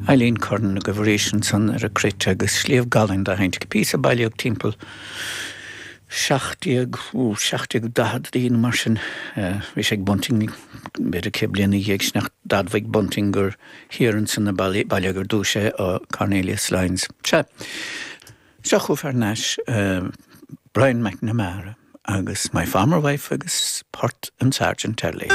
Eileen Curran agaibh arís ansan ar an gcruit agus Sliabh Galainn dá sheinnt, píosa a bailíodh timpeall 17, 1740 nó mar sin. Bhí sé ag Bunting b'fhéidir 100 bliain ina dhiaidh sin ach d'admhaigh Bunting gur thiar ansan a bailíodh ar dtús é ó Cornelius Lyons. Sea, seo chugaibh thar n-ais Brian McNamara agus My Farmer Wife agus port an Sergeant Early.